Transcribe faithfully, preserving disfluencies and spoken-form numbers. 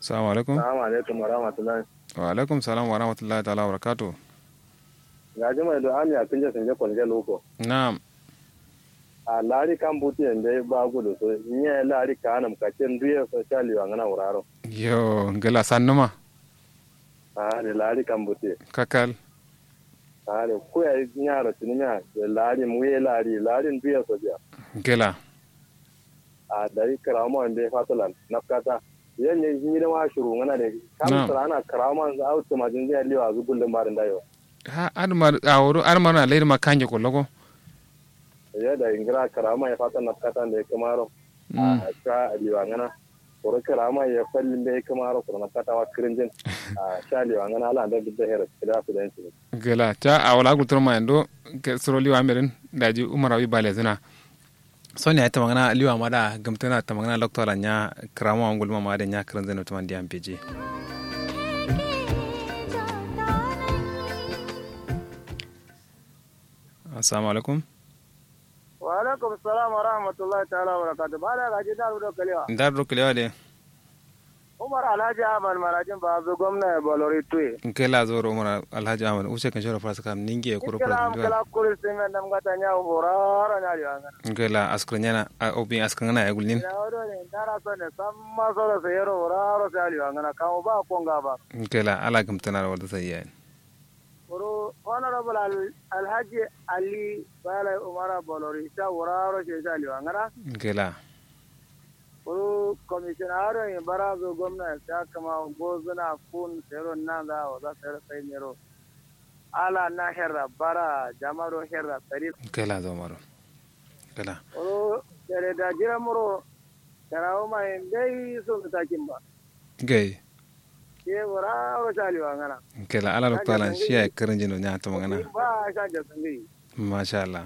Salamu alaikum. Salamu alaikum wa rahmatullahi. Wa alaikum salam wa rahmatullahi ta'ala wa barakatuh. Gaji mai do ami a kinje sinje kolge luko. Na'am. A lari kan buti en dai ba gudu so, nye lari kanam kace nduye so sha liwa ngana wuraro. Yo ngila sannuma. A de lari kan buti. Kakal. A de kuya nyaro tinimiya de lari muye lari lari nduye so biya. Ngila. A dai karawo ma wande fatolan nafkata. Yan ne ni da ma shuru ngana de kam. Na'am. Sarana karawo ma au tumajin zai liwa zu gullum barin dayo. Ha admar a woro admar na lairi ma kanje kollo ko. Yo da ingira karama ya fata nafkata nde kamaro. Mm. A sha liwa ngana. Koro karama ya fallin nde kamaro koro nafkata wa kirinjin. A sha liwa ngana ala nde duk da hera kida su da yanci. Gela ta a wala gultur ma yando. Ke suro liwa merin daji umara wi bale zina. Soni ai tamangana liwa ma da gumtuna tamangana lokto ala nya karama wa ngulma ma da nya kirinjin no tamandi am peje. Assalamu alaikum. Wa alaikum salam wa rahmatullahi ta'ala wa barakatuh. Ba da gaji dar do kalewa. Dar do kalewa de. Umar Alhaji Ahmad Marajin ba zo gwamna ya balori tuye. Nke la zoro Umar Alhaji Ahmad use kan shoro fara sakam ninge kuro fara. Kala kuri simen nam gata nya horaro nya liwa ngana. Nke la askar nyana obi askar ngana ya gulnin. Ya wado ne dara so ne samma soro se yero horaro se aliwa ngana kamu ba konga ba. Nke la ala gamtana da wada sai yayin. Kuru honorable alhaji ali bala umara bolori sha wuraro she sha liwa ngana. Gela. Kuru commissioner aro yin barazo gwamna sha kama gozuna kun sero nan za wa za sero sai nero. Ala na herra bara jamaro herra sari. Gela zo maro. Gela. Kuru dare da jira muro karawo ma yin dai so mutakin ba. Gai. Ye wuraro sha liwa ngana. Gela ala lokto alan shiya kirinjin do nya to magana. Ba sha jasangi. Masha Allah.